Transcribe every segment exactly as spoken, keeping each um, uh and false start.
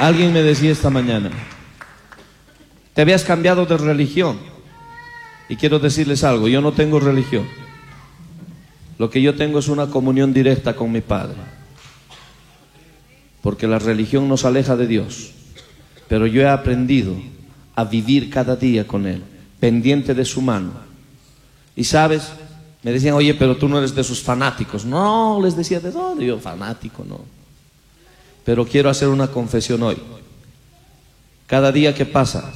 Alguien me decía esta mañana, te habías cambiado de religión. Y quiero decirles algo, yo no tengo religión. Lo que yo tengo es una comunión directa con mi Padre. Porque la religión nos aleja de Dios. Pero yo he aprendido a vivir cada día con Él, pendiente de su mano. Y sabes, me decían, oye, pero tú no eres de esos fanáticos. No, les decía, ¿de dónde? Yo, fanático, no. Pero quiero hacer una confesión hoy. Cada día que pasa,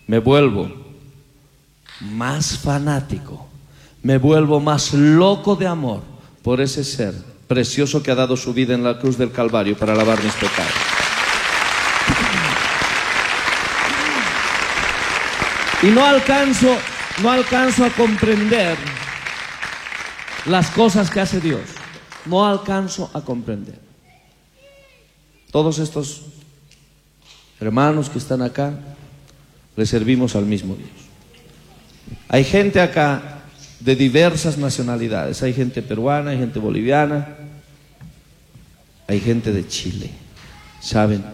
me vuelvo más fanático, me vuelvo más loco de amor por ese ser precioso que ha dado su vida en la cruz del Calvario para lavar mis pecados. Y no alcanzo, no alcanzo a comprender las cosas que hace Dios. No alcanzo a comprender. Todos estos hermanos que están acá, le servimos al mismo Dios. Hay gente acá de diversas nacionalidades. Hay gente peruana, hay gente boliviana, hay gente de Chile. ¿Saben?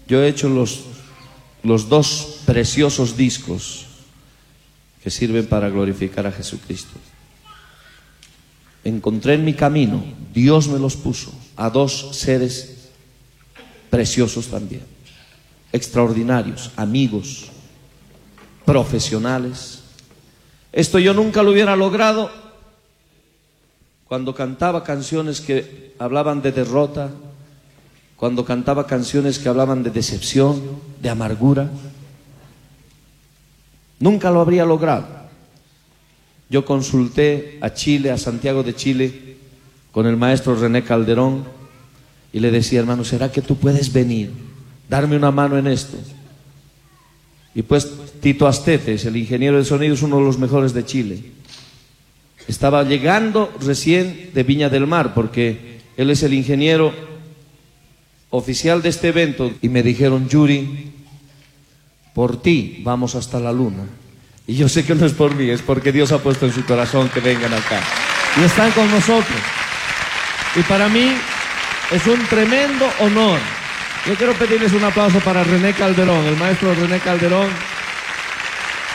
Yo he hecho los, los dos preciosos discos que sirven para glorificar a Jesucristo. Encontré en mi camino, Dios me los puso, a dos seres preciosos también, extraordinarios, amigos, profesionales. Esto yo nunca lo hubiera logrado cuando cantaba canciones que hablaban de derrota, cuando cantaba canciones que hablaban de decepción, de amargura. Nunca lo habría logrado. Yo consulté a Chile, a Santiago de Chile, con el maestro René Calderón, y le decía, hermano, ¿será que tú puedes venir, darme una mano en esto? Y pues Tito Astetes, el ingeniero de sonido, es uno de los mejores de Chile. Estaba llegando recién de Viña del Mar, porque él es el ingeniero oficial de este evento. Y me dijeron, Yuri, por ti vamos hasta la luna. Y yo sé que no es por mí, es porque Dios ha puesto en su corazón que vengan acá. Y están con nosotros. Y para mí es un tremendo honor. Yo quiero pedirles un aplauso para René Calderón, el maestro René Calderón.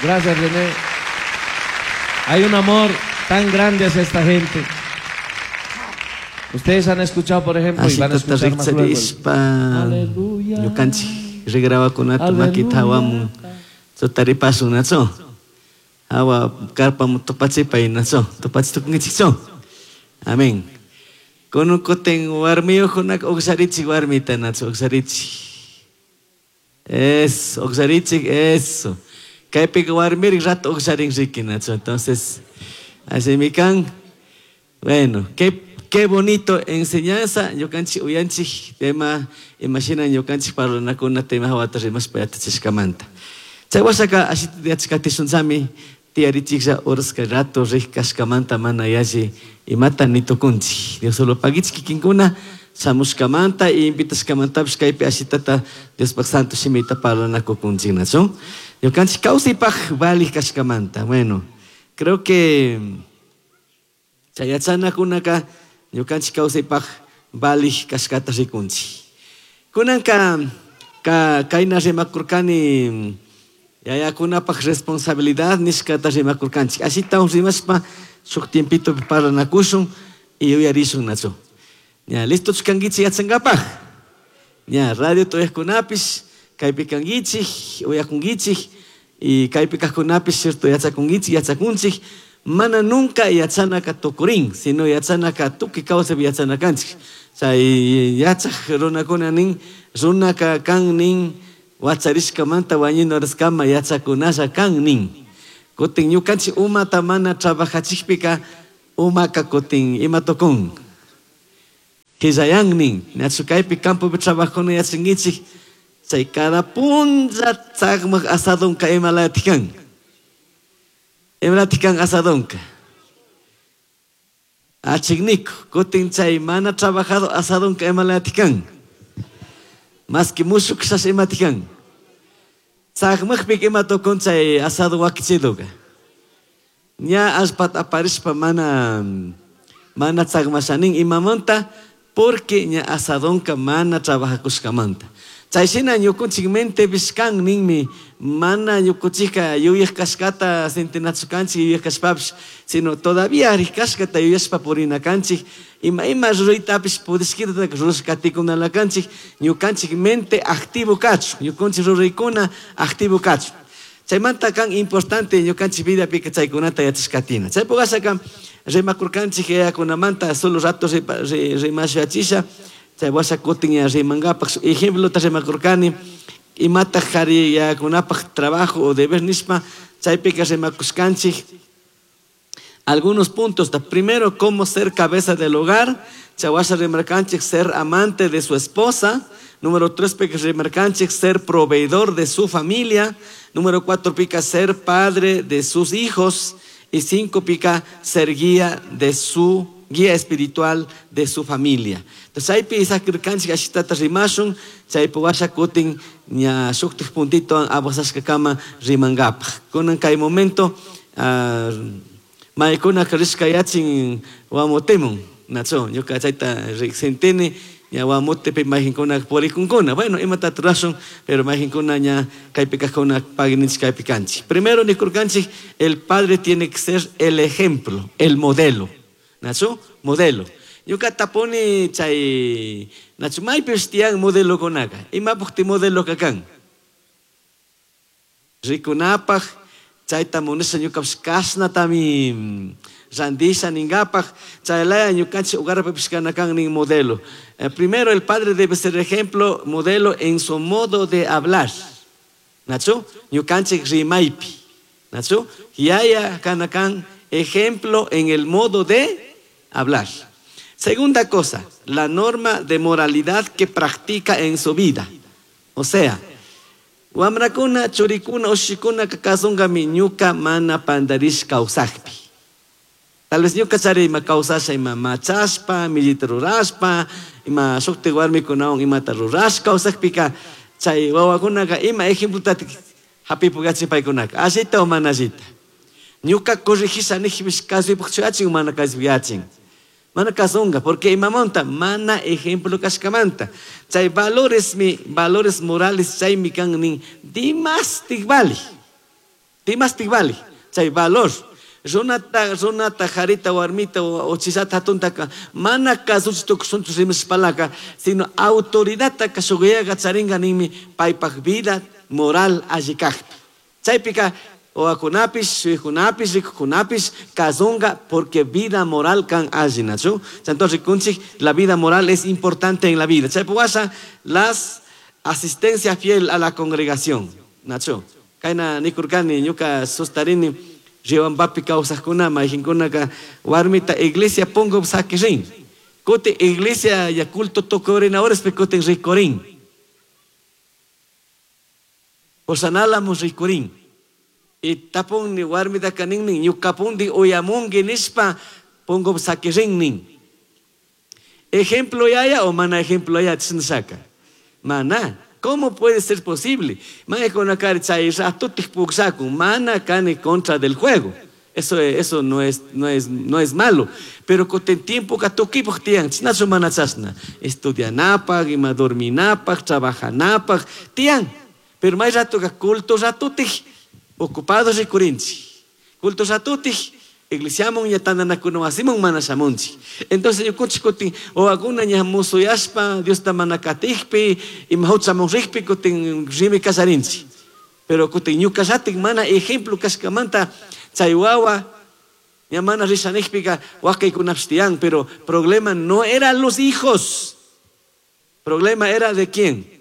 Gracias, René. Hay un amor tan grande hacia esta gente. Ustedes han escuchado, por ejemplo, y van a escuchar más luego. Aleluya. Amén. Konukoten warmiyuqkunaqa uqsharichik warmita nachu uqsharichik. Eso, uqsharichik, eso. Kaypiqa warmirik rato uqsharin riki nachu. Entonces, así mi kan. Bueno, qué, qué bonito enseñanza. Ñukanchik uyanchik tema, imagina ñukanchik parlanakuna tema hawata rimaspa yachachishkamanta. Chay washaqa ashita yachakatishunchami tiyarichiklla urasqa rato riq kashkamanta mana yalli imata nitukunchik. Dios solo pagichik kikinkuna shamushkamanta y invitashkamantapish kaypi ashitata Diospaq santo shimita parlanakukunchik nachu. Ñukanchik kawsaypaq valij kashkamanta. Bueno, creo que chay yachanakunaka ñukanchik kawsaypaq valij kashkata rikunchik. Kunanka ka kayna rimakurkani yayakunapaq responsabilidad nishkata rimakurkanchik. Ashita rimashpa shuk tiempito parlanakushun y uyarishun nachu. Ña, listo kankichik yachankapaq. Ña, radio tuyajkunapish kaypi kankichik, uyakunkichik y kaypi kajkunapish cierto yachakunkichik, yachakunchik. Mana nunca yachanaka tukurin, sino yachanaka tukuy kawsaypi yachana kanchik. Chay yachaj runakuna nin, runaka kan nin, wacharishkamanta wañunaruskama yachakunalla kan nin. Kutin ñukanchik umata mana trabajachikpika umaka kutin ima tukun. Qillayan nin, nachu kaypi campopi trabajuna yachankichik, chay cada punlla tsakmaq asadunka imalatik kan. Imalatik kan asadunka. Achikniku, kutin chay mana trabajado asadunka imalatik kan. Más que mushuk shash imatik kan. Tsakmaqpik ima tukun chay asado wakichiduka. Ña allpata aparishpa mana mana tsakmashanin imamanta Porque ña asadonka mana trabajakushkamanta. Chayshina ñukunchik mentepis kan ninmi mana ñukunchikka yuyaq kashkata sentinachu kanchik yuyaq kashpapish, sino todavía rikashkata yuyashpa purina kanchik, ima ima ruraytapish pudishkitata rurashka katikunala kanchik, ñukanchik mente activo kachun, ñukunchik ruraykuna activo kachun. Chaymanta kan importante ñukanchik vidapika chaykunata yachashkatina. Chaypuk ashaka rimakurkanchik yayakunamanta solo rato rimashachisha, chay washa kutin ya rimankapaq ejemplota rimakurkani imataq qhari yayakunapaq trabajo o deber nishpa chaypika rimakushkanchik algunos puntos. Primero, cómo ser cabeza del hogar. Chay washa rimarkanchik ser amante de su esposa. Número tres, pica rimarkanchik ser proveedor de su familia. Número cuatro, pica ser padre de sus hijos. Y cinco, pica ser guía de su guía espiritual de su familia. Entonces, chaypi isakirkanchik ashitata rimashun, chaypi washa kutin ña shuktik puntito avanzashkakama rimankapaq. Kunan kay momento uh, maykuna rishka yachin wamotemun, nacho, ñuka chayta sentini, ña wamotepi mayqinkuna purikunkuna. Bueno, imatata rurashun, pero mayqinkuna ña kaypi kajkuna paguininchik kaypi kanchik. Primero nikurkanchik, el padre tiene que ser el ejemplo, el modelo. Nacho, modelo. Ñuka tapuni chay nacho maypis tiyan modelo kunaka. Imapaq ti modelo kakan? Rikunapaq chayta munasha ñukapish kashnatami randisha ninkapaq chaylaya ñukanchik hogarpipish kanakan nin modelo. Eh, primero el padre debe ser ejemplo, modelo en su modo de hablar. Nacho, ñukanchik rimaypi. Nacho, yaya kanakan ejemplo en el modo de hablar. Segunda cosa, la norma de moralidad que practica en su vida. O sea, wamrakuna, churikuna, ushikuna kakasunqami ñuka mana pantarish kawsakpi. Tal vez ñuka chari ima kawsasha ima machashpa, millita rurashpa, ima shukti warmikunawan imata rurash kawsakpika, chay wawakunaka ima ejemplota hapipukachin paykunaka, allita o mana allita. Ñuka corrigisha nijpish kasuypukchu yachin o mana kasuypuk. Mana kasunqa, porque imamanta mana ejemplo kashkamanta. Chay valores mi, valores morales chaymi kan nin dimastik vali. Dimastik vali. Chay valor. Runata, runata, jarita, warmita, o chisata, hatuntaka, mana kasuchi tukushunchu rimashpalaka, sino autoridadta kashuguyaqa charinqa ninmi paypaq vida moral alli kaqpi. Chaypika oakunapish, suykunapish, rikukunapish, kasunqa, porque vida moral kan alli, nachu. Entonces, rikunchik, la vida moral es importante en la vida. Chaypi washa, las asistencia fiel a la congregación, nachu. Kayna nikurkani, ñuka sustarini, Riobambapi kawsaqkuna, mayqinkunaka warmita iglesia punkupi saqirin. Kuti iglesia ya culto tukurina horaspi kutin rikurin. Posanalamun rikurin. Y tapunni warmitaka ninnin, ñukapunti uyamunki nishpa punkupi saqirin nin. Ejemplo yaya o mana ejemplo yaya chisnashaka? Mana. ¿Cómo puede ser posible? Mana chay ratutik puksakun, mana kani contra del juego. Eso, eso no es, no es, no es malo. Pero con el tiempo que tukipaq tiyan, chinachu mana chashna. Estudianapaq, ima dorminapaq, trabajanapaq, tiyan. Pero may rato ka culto ratutik, ocupado rikurinchik. Culto ratutik, iglesiamun ña tantanakuna wasimun mana shamunchik. Entonces ñukunchik kutin wawakuna ña musuyashpa Diosta mana katikpi, ima huchamun rikpi kutin rimi kasarinchik. Pero kutin ñukallatik mana ejemplo kashkamanta chay wawa ña mana rishanikpika wakaykunapish tiyan, pero problema no eran los hijos. Problema era de quién?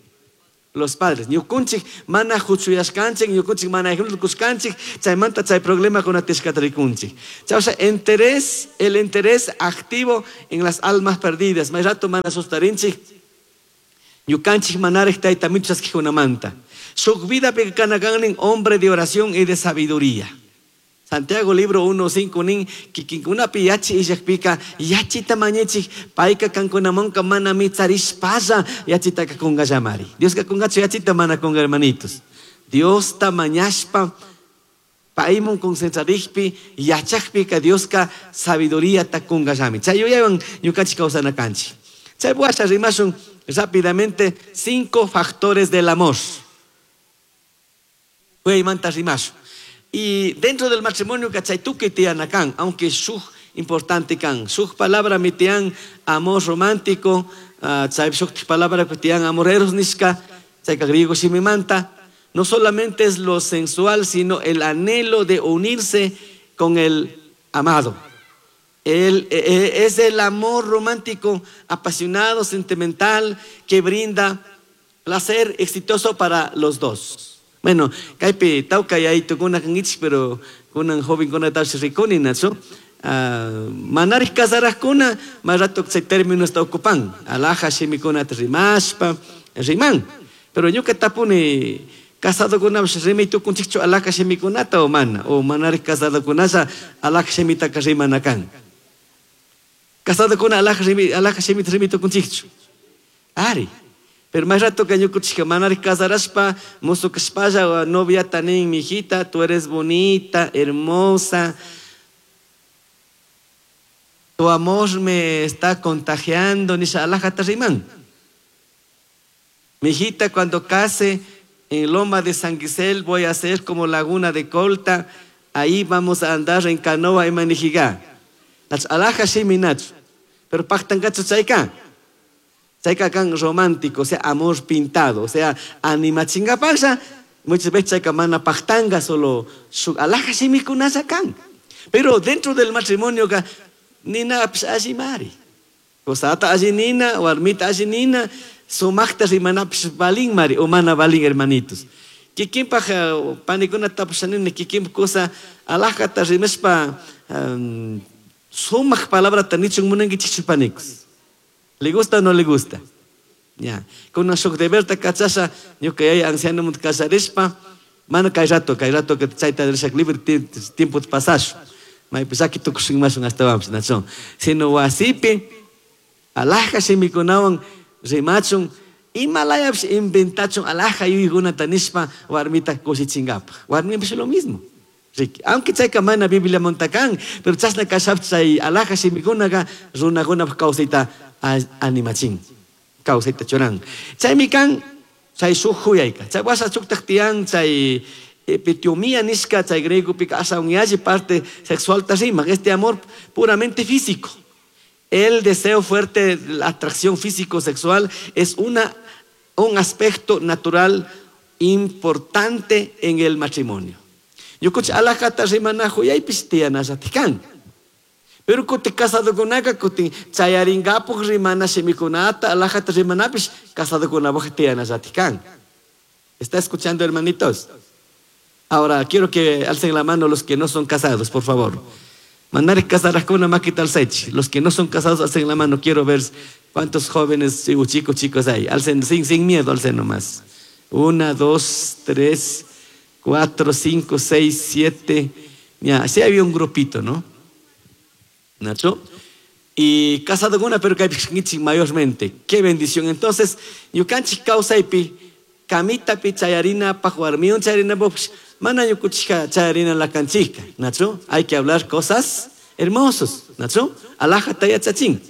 Los padres. Ñukunchik mana huchuyashkanchik, ñukunchik mana ejemplo kushkanchik, chaymanta chay problema kunatishkata rikunchik. Chay, o sea, interés, el interés activo en las almas perdidas. May rato mana sustarinchik, ñukanchik manarek tayta michasquikunamanta. Shuk vida pekanakannin hombre de oración y de sabiduría. Santiago libro uno cinco nin kikinkunapi yachi illakpika yachita mañechik payka kankunamanka mana mitzarishpalla yachitaka kungallamari. Dioska kungachu yachita mana kunga, hermanitos. Diosta mañashpa paymun concentrarikpi yachakpika Dioska sabiduría ta kungallami. Chay yuyaywan ñukanchik kawsana kanchik. Chay washa rimashun rápidamente cinco factores del amor. Huyaymanta rimashun. Y dentro del matrimonio chay tukuy tiyana kan, aunque shuk importante kan. Shuk palabra mi tiyan amor romántico, uh, chay shuk palabra tiyan amor eros nishka, chayka griego shimimanta. No solamente es lo sensual, sino el anhelo de unirse con el amado. El, es el amor romántico, apasionado, sentimental, que brinda placer exitoso para los dos. Bueno, kaypi tawka yaytukuna kankichik, pero kunan jovenkunatapish rikuni, nachu? Uh, manarik casarajkuna, más rato chay término está ocupan. Alhaja shimikunata rimashpa, riman. Pero ñuka tapuni casadokunapish rimay tukunchikchu alhaja shimikunata o mana, o manarik casadokunasha alhaja shimitaka rimana kan. Casadokuna alhaja shimi, alhaja shimita rimay tukunchikchu. Ari. Pero más rato que ñukuchika manarik casarashpa, musu kashpalla noviata nin, mijita, tú eres bonita, hermosa. Tu amor me está contagiando, nisha alhajata riman. Mijita, cuando case en Loma de San Gisel voy a ser como Laguna de Colta, ahí vamos a andar en canoa y manijigá. Alhaja shimi nachu, pero paktankachu chayka. Chayka kan romántico, o sea, amor pintado, o sea, animachingapasha, muchas veces chayka mana paktanga, solo su alhaja shimikunasha kan. Pero dentro del matrimonio ka, nina pis alli mari. Kosata alli nina, warmita alli nina, sumakta rimanapis balin mari, o mana balin hermanitos. Kikinpaj panikuna tapushanini, kikinpaj cosa alhajata rimashpa um, sumak palabrata nichun munankichikchu panikos. ¿Le gusta o no le gusta? Ya. Kuna shuk deberta kachasha, ñuka yaya anciano mut kasarishpa, mana kay rato, kay rato que chayta rishak libre tiempo pasashu. Maypi saki tukushunmashun astawanpish, nachu. Sino wasipi, alhaja shimikunawan rimachun, imalayapish inventachun alhaja yuyaykunata nishpa warmita kushichinkapaj. Warmipish lo mismo. Riki. Aunque chayka mana Biblia montakan, pero chashna kashapis chay alhaja shimikunaka runakunapaj kawsayta animachin, kawsayta churan. Chaymi kan chay shuk huyayka. Chay washa shuktaj tiyan chay epitiomía nishka, chay griegopika ashawan yalli parte sexual ta riman, este amor puramente físico. El deseo fuerte, la atracción físico-sexual es una, un aspecto natural importante en el matrimonio. Ñukuchi alhajata rimana huyaypish tiyanallatikan. Pero kuti casadokunaka kutin chayarinkapuj rimana shimikunata alhajata rimanapish casadokunapaj tiyanallatikan. ¿Está escuchando, hermanitos? Ahora quiero que alcen la mano los que no son casados, por favor. Mandar casarajkuna makita alzaychik. Los que no son casados, alcen la mano. Quiero ver cuántos jóvenes o chicos, chicos hay. Alcen sin, sin miedo, alcen nomás. Una, dos, tres, cuatro, cinco, seis, siete. Ya, sí había un grupito, ¿no? Nacho. Y casado con una, pero que mayormente. Qué bendición. Entonces, ñukanchik kawsaypi, kamitapi chayarina paj warmiwan chayarina paj, mana ñukuchika chayarina lakanchika. Nacho, hay que hablar cosas hermosas. Nacho, alhajata yachachin.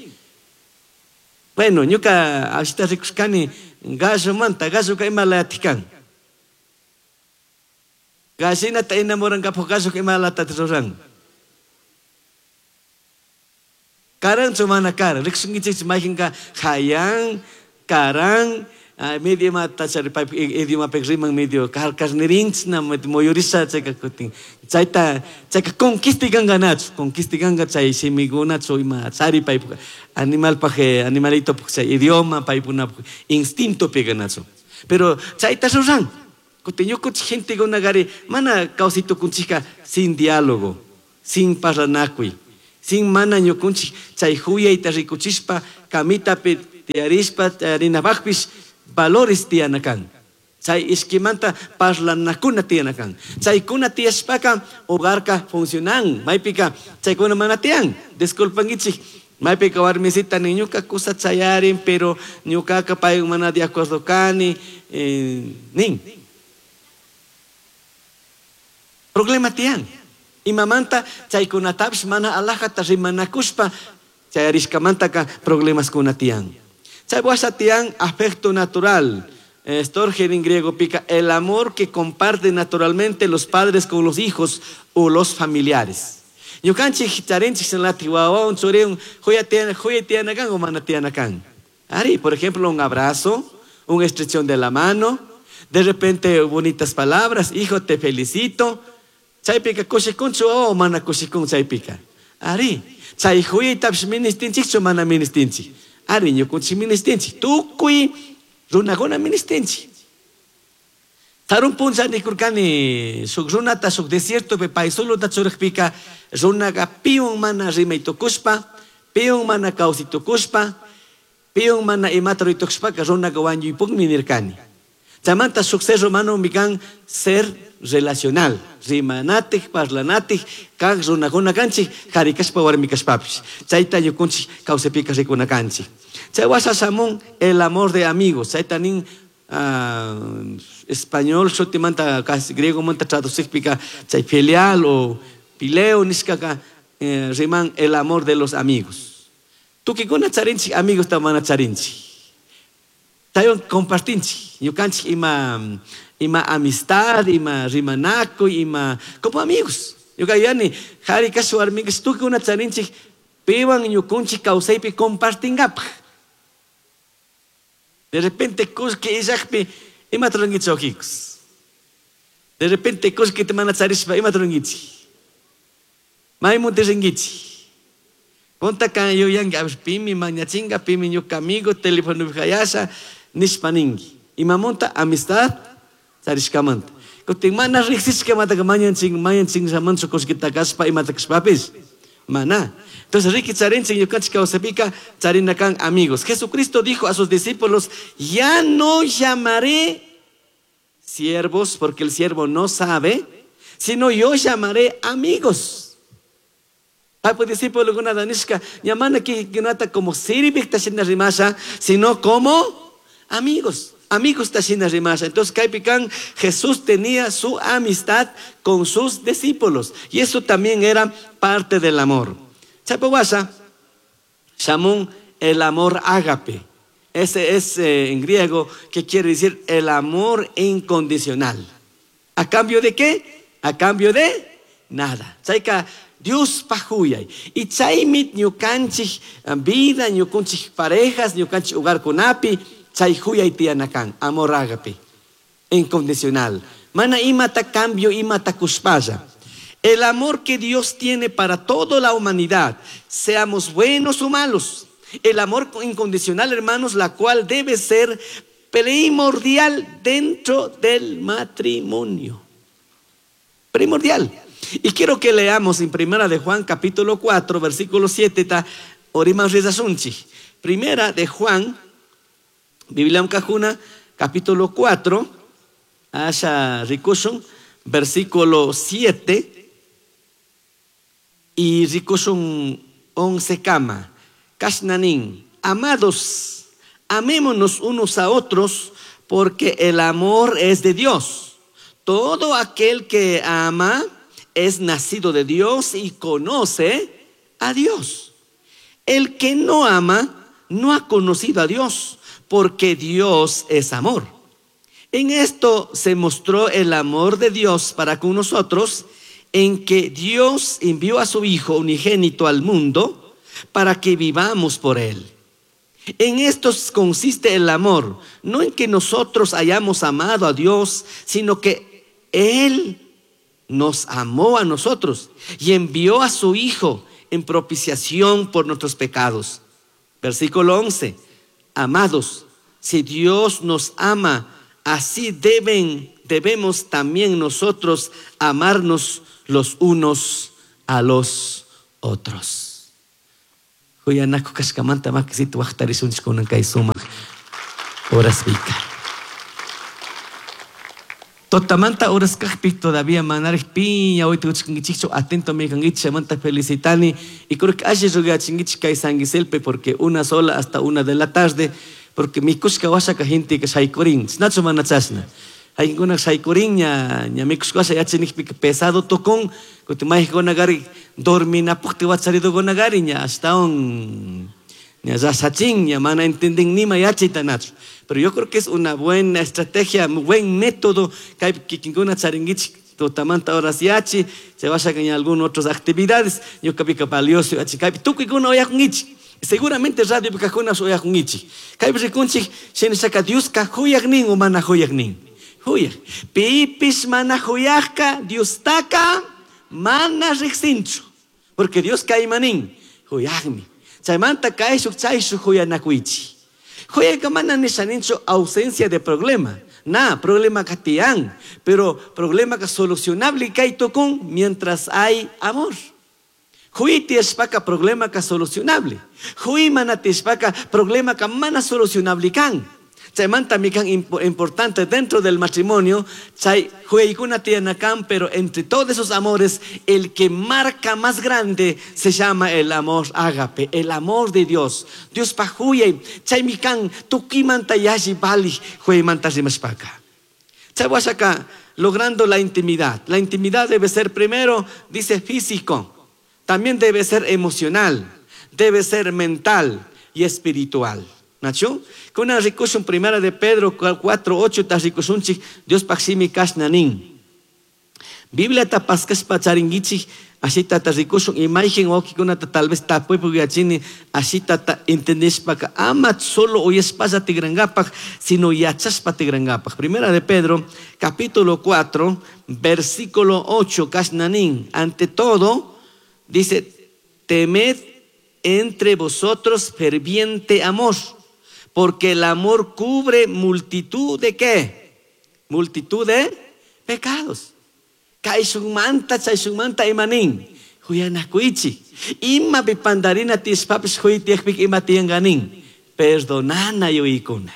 Bueno, ñuka ashita rikushkani gallo manta, gallo ka ima layatikan. Gallinata enamorankapaj gallo ka ima latata ruran. Karanchu mana karan, rikushunkichikchu mayqinka hayan, karan, medio imata chari paypak idiomapik riman medio karnirinchna muyurisha chayka kutin. Chayta, chayka conquistikanka nachu, conquistikanka chay shimikunachu ima chari paypak animalpaj, animalitopaj chay idioma paykunapaj instintopiqa nachu. Pero chayta ruran. Kutin ñukunchik gentekunakari mana kawsaytukunchikka sin diálogo, sin parlanakuy, sin mana ñukunchik chay huyayta rikuchishpa kamitapi tiyarishpa tiyarinapajpish valores tiyana kan. Chay ishkimanta parlanakuna tiyana kan. Chaykuna tiyashpaka hogarka funcionan. Maypika chaykuna mana tiyan. Disculpankichik. Maypika warmisita ni ñuka kusa chayarin, pero ñukaka paywan mana de acuerdo kani, eh, nin. Problema tiyan. Imamanta chaykunatapish mana alhajata rimanakushpa chayarishkamantaka problemaskuna tiyan. Chay tian afecto natural. Storge en griego pica el amor que comparten naturalmente los padres con los hijos o los familiares. Ñukanchik charinchik shinalati wawawan churiwan huyatiana kan o mana tiana kan. Ari, por ejemplo, un abrazo, un estrechón de la mano, de repente bonitas palabras, hijo, te felicito. Chaypika kushikunchu o mana kushikun chaypika. Ari, chay huyaytapish ministinchikchu mana ministinchik. Ari, ñukunchik ministinchik. Tukuy runakuna ministinchik. Sarun puncha nikurkani shuk runata shuk desiertopi pay soluta churajpika runaka piwan mana rimay tukushpa, piwan mana kawsay tukushpa, piwan mana imata ruray tukushpaka runaka wañuypukmi nirkani. Chaymanta shuk ser humano kan ser relacional, rimanatik, parlanatik, kak runakuna kanchik, qhari kashpa warmi kashpapish. Chayta ñukunchik kawsaypika rikuna kanchik. Chay washa shamun el amor de amigos, chayta nin uh, español shutimanta casi griego manta traducikpika chay filial o pileo nishkaka eh, riman el amor de los amigos. Tukikuna charinchik amigos ta mana charinchik. Chaywan compartinchik, ñukanchik ima ima amistad, ima rimanakuy, ima como amigos. Ñuka yuyani qhari kash warmi kash tukikuna charinchik piwan ñukunchik kawsaypi compartingapaj. De repente kullki illakpi imata rurankichik wawqikus. De repente kullkita mana charishpa imata rurankichik. Maymunta rinkichik. Punta kan yuyanki, a ver, pimi mañachinga, pimi ñuka amigo, telefonopi hayasha, nishpa ninki. Imamunta amistad charishkamanta. Kutin mana riqsishkamantaka mañanchin, mañanchinllamanchu kullkita kashpa imata kashpapish. Mana. Entonces, riki charinchik ñukanchik kawsaypika charina kan amigos. Jesucristo dijo a sus discípulos, ya no llamaré siervos, porque el siervo no sabe, sino yo llamaré amigos. Paypa discípulo nishka, ña mana kikinata como sirvik shina rimasha, sino como amigos. Amigos shina rimasha. Entonces, kaypi kan, Jesús tenía su amistad con sus discípulos. Y eso también era parte del amor. Chaypa washa, shamun el amor ágape. Ese es eh, en griego que quiere decir el amor incondicional. ¿A cambio de qué? A cambio de nada. Chayka Dios pajuyay. Y chaymit ñukanchik vida, ñukanchik parejas, ñukanchik hogarkunapi, chay huyay tiyanakan, amor ágape, incondicional. Mana imata cambio, imata kushpalla. El amor que Dios tiene para toda la humanidad, seamos buenos o malos. El amor incondicional, hermanos, la cual debe ser primordial dentro del matrimonio. Primordial. Y quiero que leamos en Primera de Juan, capítulo cuatro, versículo siete, ta oriman rizasunchik. Primera de Juan, Biblia Cajuna, capítulo cuatro, asha rikushun, versículo siete, y rikushun once kama. Kashnanin, amados, amémonos unos a otros, porque el amor es de Dios. Todo aquel que ama es nacido de Dios y conoce a Dios. El que no ama no ha conocido a Dios, porque Dios es amor. En esto se mostró el amor de Dios para con nosotros, en que Dios envió a su Hijo unigénito al mundo para que vivamos por él. En esto consiste el amor, no en que nosotros hayamos amado a Dios, sino que Él nos amó a nosotros y envió a su Hijo en propiciación por nuestros pecados. Versículo once. Amados, si Dios nos ama, así deben, debemos también nosotros amarnos los unos a los otros. Huyanaku kashkamanta makisito waqtarishunchik kunan kay sumaq horaspika. Totamanta horas kaqpi todavía manaraq piña hoy tukuchkankichikchu, atento mi kankichik, chaymanta felicitani y creo que alli rugachinkichik kay San Giselpe porque una sola hasta una de la tarde, porque mikushka washaka gente que shaykurin, nachu mana chashna. Haykuna shaykurin ña ña mikushka washa yachanikpika pesado tukun, kutin mayqikuna gari dorminapukti wacharitukuna gari ña hasta un Ña ña mana entendin nima yachayta nachu. Pero yo creo que es una buena estrategia, buen método kaypi kikinkuna charinkichik tutamanta horas yachi, se vaya en algunas otras actividades, ñuqapika valioso yachi kaypi tukuykuna uyakunkichik. Seguramente radio kajkuna uyakunkichik. Kaypi rikunchik shinashaka Dioska huyaq nin o mana huyaq nin. Huyaq. Pipis mana huyaqka Diostaka mana riqsinchu. Porque Dios kaymanin huyaqmi. Chaymanta kayshuk chayshuk huyanakuychik. Huyayka mana nishaninchu ausencia de problema. Na, problema ka tiyan, pero problema ka solucionable kay tukun mientras hay amor. Huy tiyashpaka problema ka solucionable. Huy mana tiyashpaka problema ka mana solucionable kan. Chaymanta mi kan importante dentro del matrimonio, chay huyaykuna tiyanakan, pero entre todos esos amores, el que marca más grande se llama el amor ágape, el amor de Dios. Dios pa huyay, chay mi kan tukimanta yalli bali huyaymanta rimashpaka. Chay washaka logrando la intimidad. La intimidad debe ser primero, dice, físico. También debe ser emocional, debe ser mental y espiritual. Nachu? Kuna rikushun primera de Pedro cuatro ocho ta rikushunchik Dios paksimi kashnanin. Biblia ta paskashpa charinkichik ashita ta rikushun imagen wawkikuna ta tal vez tapuypuk yachini ashita ta entendishpaka ama solo uyashpalla tigrangapak sino yachashpa tigrangapak. Primera de Pedro capítulo cuatro versículo ocho kashnanin. Ante todo dice, temed entre vosotros ferviente amor, porque el amor cubre multitud de ¿qué? Multitud de pecados. Kaishunmanta, chayshunmanta imanin. Huyanakuichi. Ima pipandarina tispapis huytiekpik ima tianganin. Perdonana yuikuna.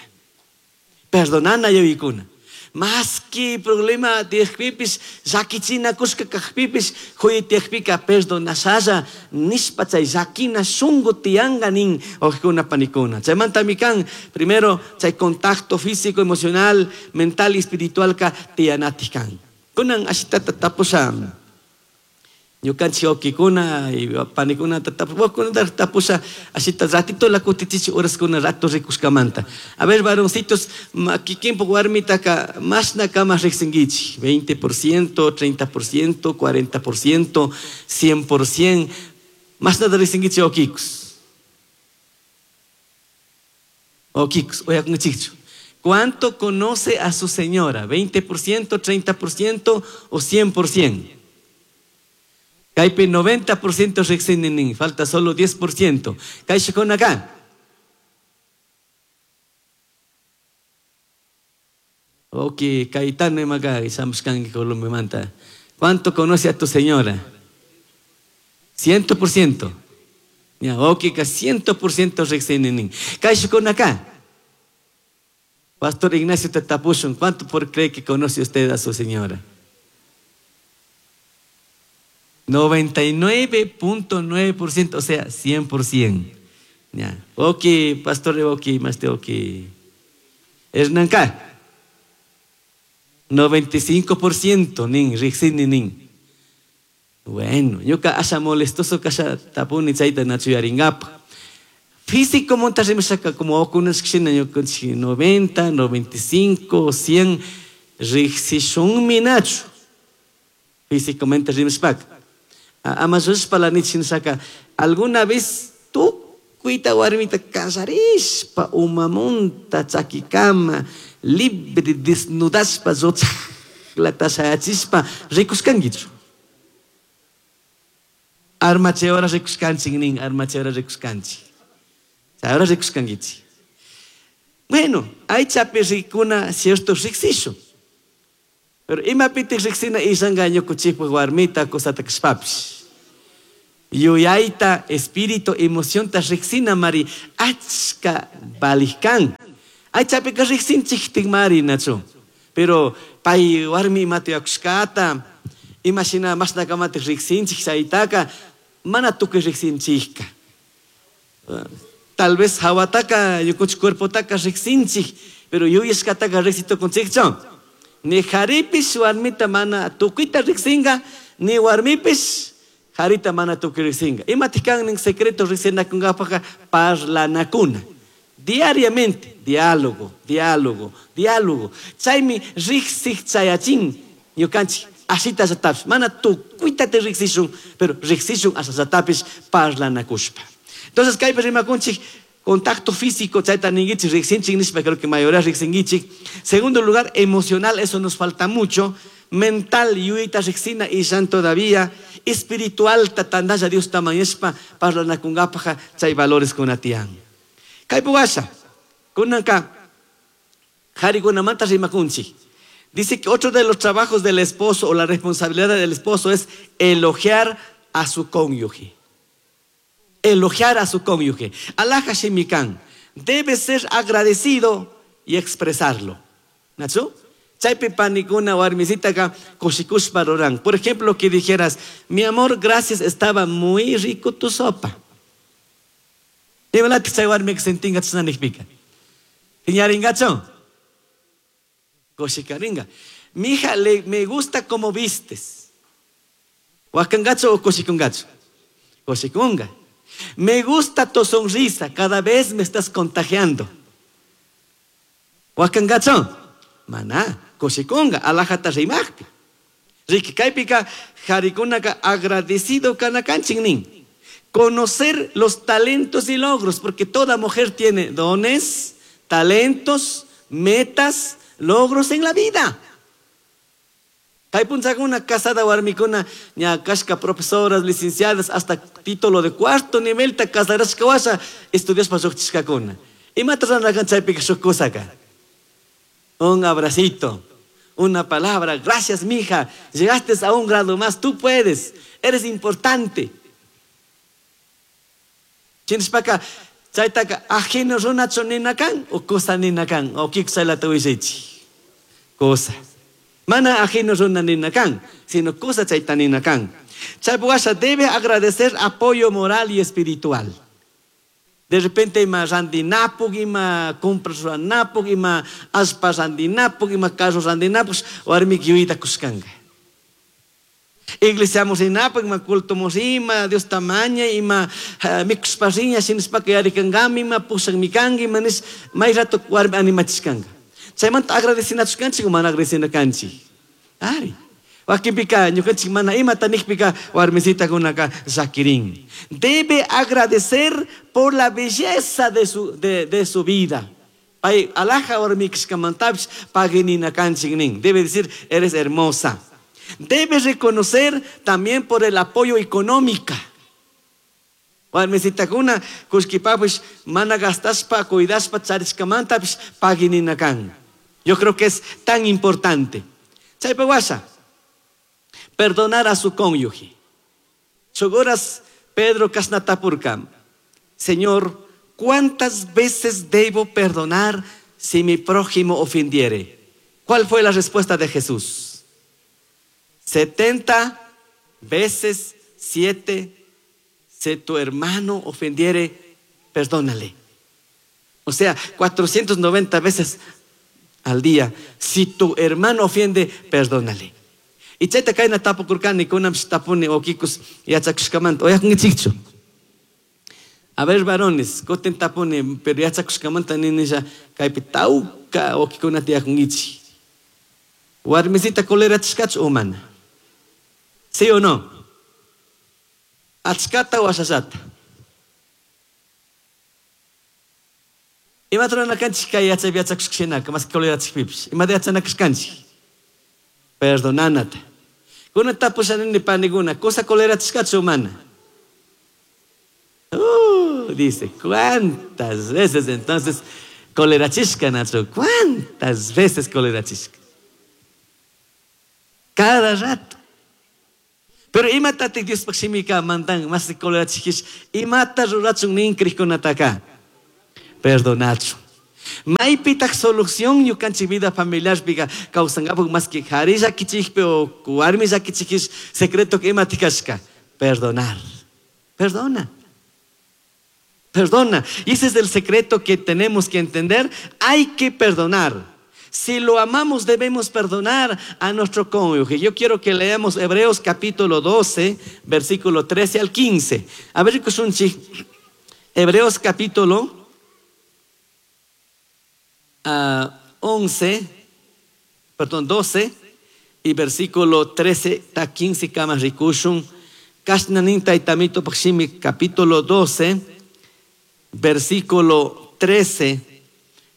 Perdonana yuikuna. Más que problema tiekpipis, llakichina kuska kajpipis, huytiekpika perdonasalla, nishpa chay llakina shungu tianganin, ojkuna panikuna. Chaymanta mikan, primero, chay contacto físico, emocional, mental y espiritual ka tianatikan. Kunan ashitata tapusa, ñukanchik wawkikuna y panikuna tapusa, tapusa ashita ratito la kutichichi horaskuna rato rikushkamanta. A ver, varoncitos, kikinpuk warmitaka mashna kama riqsinkichik, veinte por ciento, treinta por ciento, cuarenta por ciento, cien por ciento, mashnata riqsinkichik wawkikus. Wawkikus, uyakunkichikchu. ¿Cuánto conoce a su señora? ¿veinte por ciento, treinta por ciento o cien por ciento? Kaypi noventa por ciento riqsinin, falta solo diez por ciento. Kayshukuna acá. Ok, Caetano imaka, ishamushkanki Colombia. ¿Cuánto conoce a tu señora? Ciento por ciento. Ya, ok, ka ciento por ciento riqsinin. Kayshukuna acá. Pastor Ignacio Tatapushun, ¿cuánto por cree que conoce usted a su señora? noventa y nueve punto nueve por ciento, o sea, cien por ciento. Ya. Ok, pastor, ok, más de ok. Hernán K. noventa y cinco por ciento, nin, riqsini, nin. Bueno, yo ka asha molestoso ka asha tapuni chayta nachuyaringapa. Físico montarrimashaka como okunas kshina ñukanchik noventa, noventa y cinco, cien, riqsishunmi nachu. Físicamente rimashpaka. Ama rushpa alguna vez tú cuita warmita casarishpa umamunta chakikama libre desnudashpa zochaqlata shayachispa rikushkankichu. Armachayora rikushkanchik nin, armachayora rikushkanchik. Chayora rikushkankichik. Bueno, aychapi rikuna cierto riqsishun. Pero imapitik riqsina ishanqa ñukuchikpaq warmita cosata kashpapish. Yuyayta, espíritu, emocionta riqsina mari achka valij kan. Aychapika riqsinchiktik mari nachu. Pero pay warmi imata yakushkata, imashina mashnakamatik riqsinchik chaytaka, mana tukuy riqsinchikka. Tal vez hawataka ñukunchik cuerpotaka riqsinchik, pero yuyashkataka riqsitukunchikchu. Ni jaripis warmita mana tukuyta riqsinqa, ni warmipis Jarita mana tukuy riqsinqa. Imataq kan nin secreto riqsinakunqapaqqa parlanakuna. Diariamente, diálogo, diálogo, diálogo. Chaymi riqsiq chayachin ñukanchik ashita ashatapis. Mana tukuyta te riqsishun, pero riqsishun ashatapis parlanakushpa. Entonces kaypi rimakunchik contacto físico, chayta ninkichik riqsinchik nishpa, creo que mayoría riqsinkichik. Segundo lugar, emocional, eso nos falta mucho. Mental, yuyayta riqsina ishan todavía. Espiritual, tatandalla Dios tamañashpa parlanakunqapaq chay valores kunatiyan. Kaypi washa, kunanka qharikunamanta rimakunchik. Dice que otro de los trabajos del esposo o la responsabilidad del esposo es elogiar a su cónyuge. Elogiar a su cónyuge. Alhaja shimikan. Debe ser agradecido y expresarlo. ¿Nachu? Chaypi panikuna warmisitaka kushikushpa ruran. Por ejemplo, que dijeras, mi amor, gracias, estaba muy rico tu sopa. Imalati chay warmika sentinga chashna nijpika. Piñaringachu? Kushikaringa. Mija, le, me gusta cómo vistes. Wakangachu o kushikungachu? Kushikunga. Me gusta tu sonrisa, cada vez me estás contagiando. Wakangachu? Mana, kushikunga, alhajata rimajpi. Riki kaypika qharikunaka agradecido kanakanchik nin. Conocer los talentos y logros, porque toda mujer tiene dones, talentos, metas, logros en la vida. Kay punchakuna casada warmikuna ña kashka profesoras, licenciadas, hasta título de cuarto nivel ta casarashka washa estudiashpa lluqchishkakuna. Imata ruranakan chaypika shuk kusaka? Un abracito, una palabra, gracias mija, llegaste a un grado más, tú puedes, eres importante. Chinishpaka chaytaka ajeno runachu ninakan o cosa ninakan o kik chaylata willaychik. Cosa. Mana ajeno runa ninakan, sino cosa chayta ninakan. Chaypi washa debe agradecer apoyo moral y espiritual. De repente ima randinapuk, ima compras ruranapuk, ima allpa randinapuk, ima carro randinapuk, warmik yuyayta kushkanka. Iglesia rinapuk, ima culto ima, Dios tamaña, ima uh, mikushpa riña, shinashpaka yarikankami, ima pushakmi kanki, ima nish, may rato warmi animachishkanka. Chaymanta agradecinachukanchik o mana agradecinakanchik. Ari. Wakinpika ñukanchik mana imata nijpika warmisitakunaka llakirin. Debe agradecer por la belleza de su, de, de su vida. Pay alhaja warmikishkamantapish pagininakanchik nin. Debe decir, eres hermosa. Debe reconocer también por el apoyo económico. Warmisitakuna kullkipapish mana gastashpa cuidashpa charishkamantapish pagininakan. Yo creo que es tan importante. Chaypa washa, perdonar a su cónyuge. Chogoras Pedro kashna tapurka, Señor, ¿cuántas veces debo perdonar si mi prójimo ofendiere? ¿Cuál fue la respuesta de Jesús? Setenta veces siete, si tu hermano ofendiere, perdónale. O sea, cuatrocientas noventa veces al día. Si tu hermano ofende, perdónale. Y chayta kayna tapukurkani, kunanpish tapuni okikus yachakushkamanta. Oyakunkichikchu. A ver, varones, kutin tapuni, pero yachakushkamanta ninisha kaypi tawka okikunata yakunkichik. Warmisita colerachishkachu o mana? ¿Sí o no? Achkata o ashashata? Imata ruranakanchik kay yachaypi yachakushka mas colerachikpipish. Imata yachanakashkanchik? Perdonanata. Kuna tapushanini panikuna, cosa colerachishkachu o mana? Uh, dice, ¿cuántas veces entonces colerachishka, Nacho? ¿Cuántas veces colerachishka? Cada rato. Pero imatatik Diospaj shimika mandan mas colerachishkish, imata rurachun nin krikkunataka? Perdonachu. Maypitaq solución ñukanchik vida familiarpiqa kawsankapak mas que qhari llakichikpi o warmi llakichikish secreto imatik kashka? Perdonar. Perdona. Perdona. Y ese es el secreto que tenemos que entender. Hay que perdonar. Si lo amamos, debemos perdonar a nuestro cónyuge. Yo quiero que leamos Hebreos capítulo doce, versículo trece al quince. A ver, Hebreos capítulo uh, once, perdón, doce, y versículo trece ta quince kama rikushun. Kashnanin taytamito pakshimi capítulo doce, versículo trece,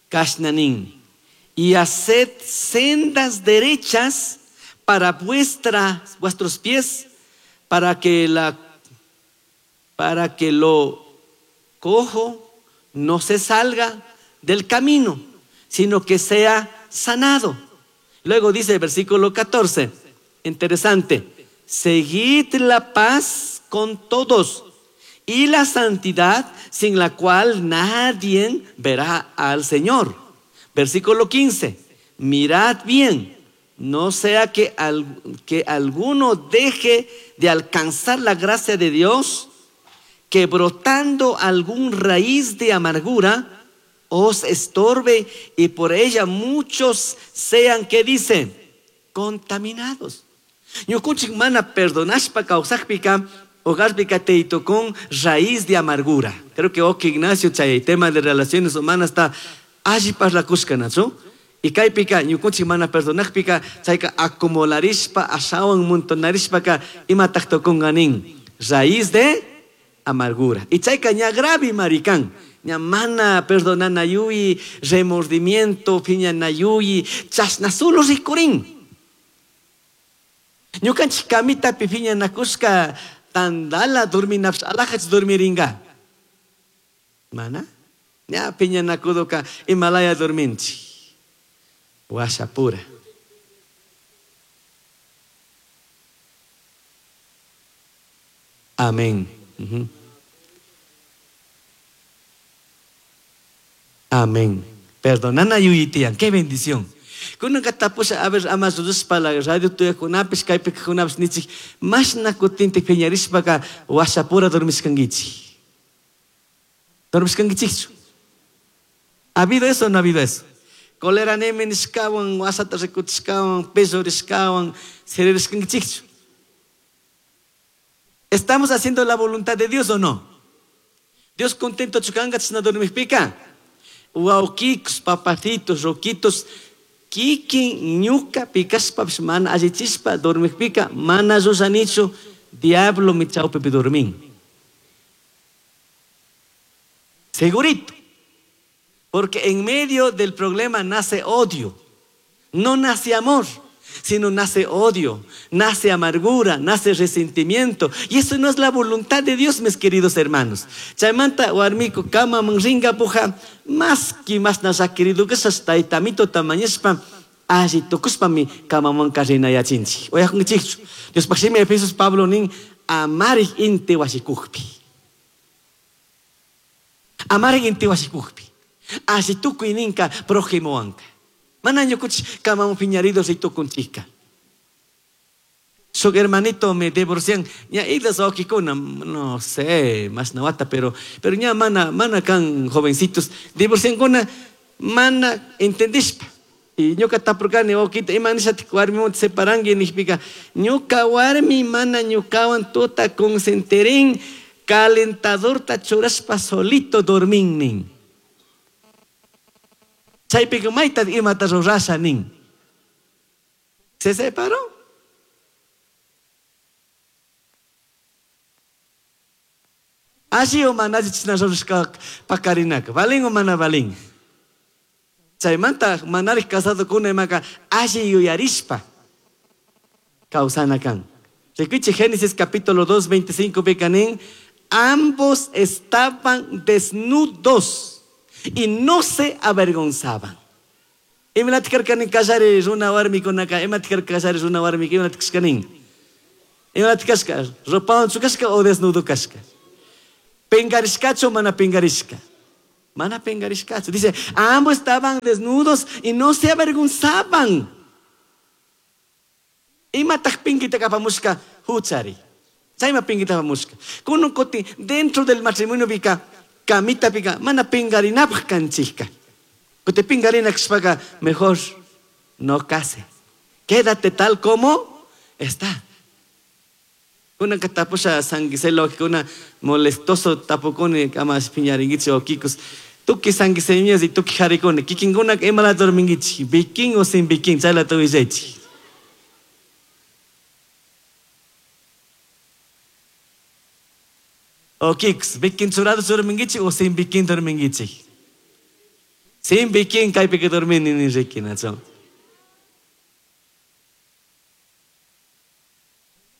kashnanin. Y haced sendas derechas para vuestra, vuestros pies, para que la, para que lo cojo no se salga del camino, sino que sea sanado. Luego dice el versículo catorce, interesante, seguid la paz con todos y la santidad, sin la cual nadie verá al Señor. Versículo quince, mirad bien, no sea que, al, que alguno deje de alcanzar la gracia de Dios, que brotando algún raíz de amargura os estorbe y por ella muchos sean, ¿qué dice? Contaminados. Ñukunchik mana perdonashpa kawsakpika, hogarpika teito con raíz de amargura. Creo que ok Ignacio chay tema de relaciones humanas está alli parlakushka, nachu? Y kaypika ñukunchik mana perdonakpika chayka acumularishpa ashawan montonarishpaka imataq tukunganin raíz de amargura. Y chayka ña grave maricán. Ña mana perdonanayuyi, remordimiento, piñanayuyi, chasna solo rikurin. Ñukanchik kamitapi piñanakushka tandala dorminapsh alajach dormiringa. Mana? Ña piñanakudoka Himalaya dorminchi. Huashapura. Amén. Uh-huh. Amén. Perdonana yuyitian. Qué bendición. Kunanka tapusha a ver ama rurashpa la radio tuyakunapish kaypika kunapish nichik mashna kutintik piñarishpaka huashapura dormishkankichik. Dormishkankichikchu. ¿Ha habido eso o no ha habido eso? Cólera neme nishkawan, wasata rikuchishkawan, pesorishkawan, siririshkankichikchu. ¿Estamos haciendo la voluntad de Dios o no? Dios contento chukanga chishna dormishpika. Waukikus, papacitos, roquitos, kikin ñuka pikashpa mana allichishpa dormishpika, mana ruranichu, diablo mi chawpipi dormin. Segurito. Porque en medio del problema nace odio. No nace amor, sino nace odio, nace amargura, nace resentimiento. Y eso no es la voluntad de Dios, mis queridos hermanos. Chaymanta warmiku kama ringa puja, más que más nasa querido que esas taitamito tamañespa, alli tukuspa mi kamaman karrinayachinchi. Oyakunkichikchu. Dios paximi Efesios Pablo nin amarik inti washikukpi. Amarik inti washikukpi. Alli tukuy ninka prójimo anka. Mana ñukuch kamamun piñarido ritukunchika. Su hermanito me divorcian, ña idas okikuna, no sé, más nawata, pero pero ña mana mana kan jovencitos divorcian kuna mana entendishpa. Y ñuka tapurkani okita imanishatik warmiwan separanki nishpika ñuka warmi mana ñukawan tuta consenterin calentadorta churashpa solito dormin nin. Chaypika mayta imata rurasha nin. Se separó. Alli o mana alli chishna rurashka pakarinaka. Valin o mana valin. Chaymanta manarik casado kuna imaka alli yuyarishpa kawsana kan. Rikuchi Génesis capítulo dos, veinticinco bekanin, ambos estaban desnudos y no se avergonzaban. Imalatikar kallari runa warmikunaka, imatikar kallari runa warmika, imalatikashkanin. Imalatikashka, ropawan chukashka o desnudo kashka. Pengarishkachu mana pengarishka. Mana pengarishkachu. Dice, ambos estaban desnudos y no se avergonzaban. Imatak pinkita kapamushka huchari. Chayma pinkita kapamushka. Kunun kuti dentro del matrimonio pika, kamita pika, mana pingarinapaj kanchika. Kuti pingarina kashpaka mejor no case. Quédate tal como está. Kuna katapusha sanguiselo, kuna molestoso tapukuni kama piñaringuichi o kikos. Tuki sanguiseñas y tuki jaricone. Kikinguna emala dorminguichi. Bikin o sin bikin, chala tuisechi. O kikos, bikin churado dorminguichi o sin bikin dorminguichi. Sin bikin kaipi que dormini ni rikinacho.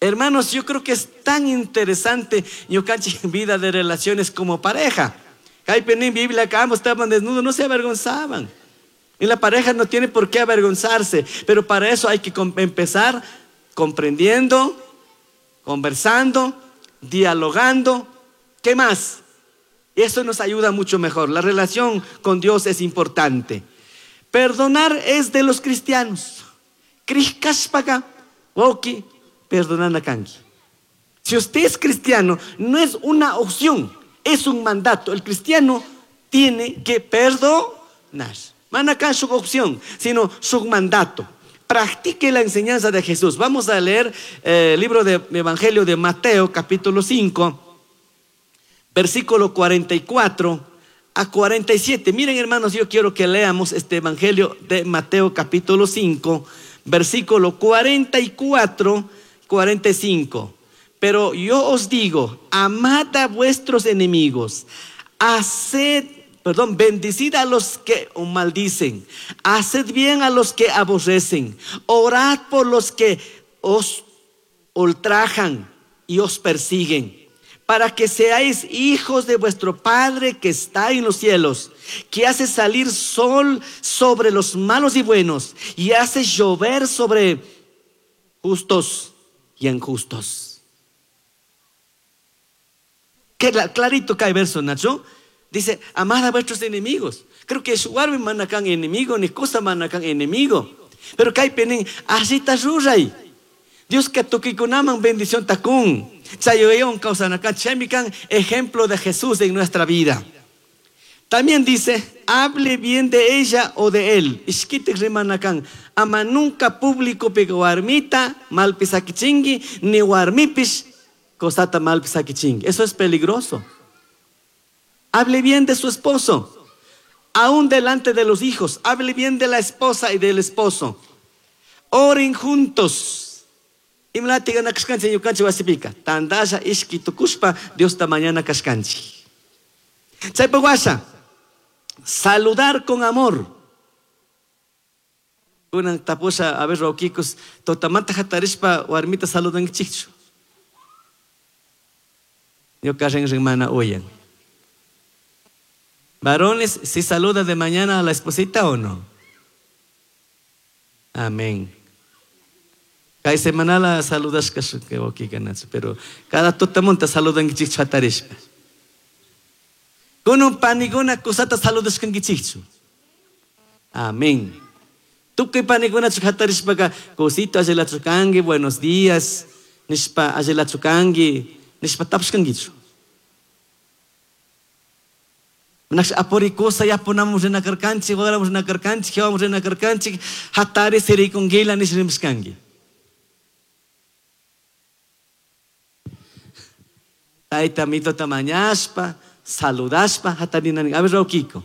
Hermanos, yo creo que es tan interesante ñukanchik vida de relaciones como pareja. Kaipi en Biblia que ambos estaban desnudos, no se avergonzaban. Y la pareja no tiene por qué avergonzarse, pero para eso hay que empezar comprendiendo, conversando, dialogando. ¿Qué más? Eso nos ayuda mucho mejor. La relación con Dios es importante. Perdonar es de los cristianos. Krishkashpaka, woki, perdonar a kanki. Si usted es cristiano, no es una opción, es un mandato. El cristiano tiene que perdonar. Manakan su opción, sino su mandato. Practique la enseñanza de Jesús. Vamos a leer eh, el libro del Evangelio de Mateo, capítulo cinco, versículo cuarenta y cuatro a cuarenta y siete. Miren, hermanos, yo quiero que leamos este Evangelio de Mateo, capítulo cinco, versículo cuarenta y cuatro, cuarenta y cinco. Pero yo os digo, amad a vuestros enemigos, haced, perdón, bendecid a los que os maldicen, haced bien a los que aborrecen, orad por los que os ultrajan y os persiguen, para que seáis hijos de vuestro Padre que está en los cielos, que hace salir sol sobre los malos y buenos, y hace llover sobre justos y injustos. Qué clarito cae verso, Nacho. Dice, amad a vuestros enemigos. Creo que es warmi manakan enemigo, ni cosa manakan enemigo. Pero cae penen, así está ruray. Dios que tukikunaman bendición takun. Chayoyon causanakan, chemikan, ejemplo de Jesús en nuestra vida. También dice, hable bien de ella o de él. Ishkitik rimanakan, ama nunca público pega warmita, malpisakichingi, ni warmipis, cosata malpisakichingi. Eso es peligroso. Hable bien de su esposo, aún delante de los hijos. Hable bien de la esposa y del esposo. Oren juntos. Imlatiga na kashkanchi ñukanchi wasipika. Tandasha ishki tukushpa Dios ta mañana kashkanchi. Chaypa washa, saludar con amor. Kunan tapusha a ver raukikus totamanta hatarishpa warmita saludankichikchu. Ñuka rin mana uyan. Varones, ¿si saluda de mañana a la esposita o no? Amén. Kay semanala saludas que pero cada totamonta saludan kichik. Con un panigona cosata saludas kangichichu. Amén. Tu que panigona chukatarishpa cosito ajelachukangui, buenos días, nishpa ajelachukangui, nishpa tapshkangichu. Nax aporicosa ya ponamos en nakarkanchi, guardamos en nakarkanchi, llevamos en nakarkanchi, hatari serikongila nishrimskangi. Taita mito tamañaspa, saludaspa, hatarina. A ver, Raukiko.